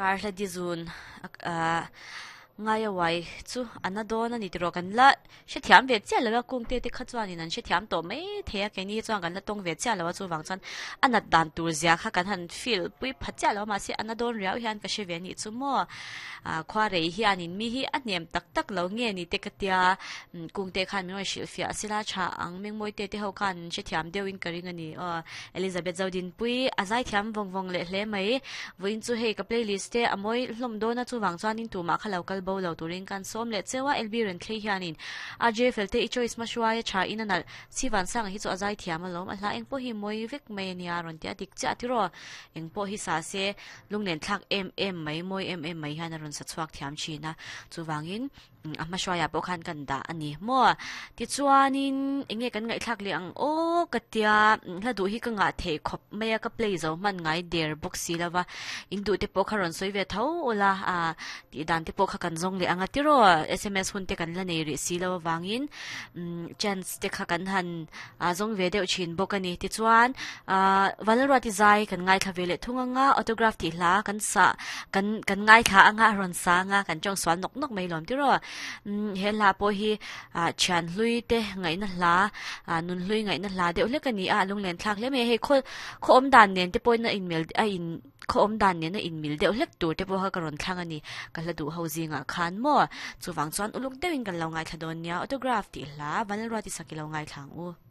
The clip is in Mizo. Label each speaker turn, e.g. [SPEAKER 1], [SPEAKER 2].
[SPEAKER 1] Kar hla di zun ngaia uai chu a na dawn a ni tiraw kan la hrethiam ve chiah lo a kungte te kha chuanin an hrethiam tawh mai thei a keini hi chuan kan la tawng ve chiah lo a chuvang chuan a nat dan tur zia kha kan han feel pui pha chiah lo a mahse a na dawn riau hian ka hre ve a nih chu maw ah khua rei hianin mi hi a hnem tak tak lo nge ni te ka tia kungte khan min rawn hrilhfiah a sila tha ang mengmawi te te ho khan an hrethiam deuhin ka ring a ni aw Elizabeth Zodinpui a zaithiam vawng vawng leh hle mai. Vawiin chu hei ka playlist te a mawi hlawm dawn a chuvang chuanin tumah kha lo kal bo lo turin kan sawm leh cheu a LB Renthlei hianin RJ Felte i choice hma hruai a tha in a nalh Sivan Sanga hi chu a zai thiam alawm a hla eng pawh hi mawi vek mai ania rawn ti a dik chiah tiraw eng pawh hi sa se lunglen thlak em em mai mawi em em mai hian a rawn sa chhuak thiam thin a chuvangin A hma hruaiah pawh khan kan dah a ni maw? Tichuanin eng nge kan ngaihthlak leh ang aw ka tia hla duh hi ka ngah theih khawp mai a ka play zo hman ngai der bawk si lo va in duh te pawh kha rawn sawi ve tho ula ah tih dan te pawh kha kan zawng leh ang a tiraw sms hun te kan la nei rih si lo avangin chance te kha kan han a zawng ve deuh thin bawk a ni. Tichuan ahh Vanlalruati zai kan ngaithla ve leh thung anga autograph tih hla kan sah kan kan ngaithla anga a rawn sa anga kan tawng sual nawk nawk mai lawm tiraw. Umm he hla pawh hi ah thian hlui te ngaihna hla ah nun hlui ngaihna hla deuh hlek a ni a a lunglen thlak hle mai a. Hei khaw khaw awm dan nen te pawhin a inmel a in khaw awm dan nen a inmil deuh hlek tur te pawh kha ka rawn thlang a ni. Ka hla duh ho zingah khan maw? Chuvang chuan uluk deuhin kan lo ngaithla dawn nia autograph tih hla Vanlalruati sak i lo ngaithla ang u.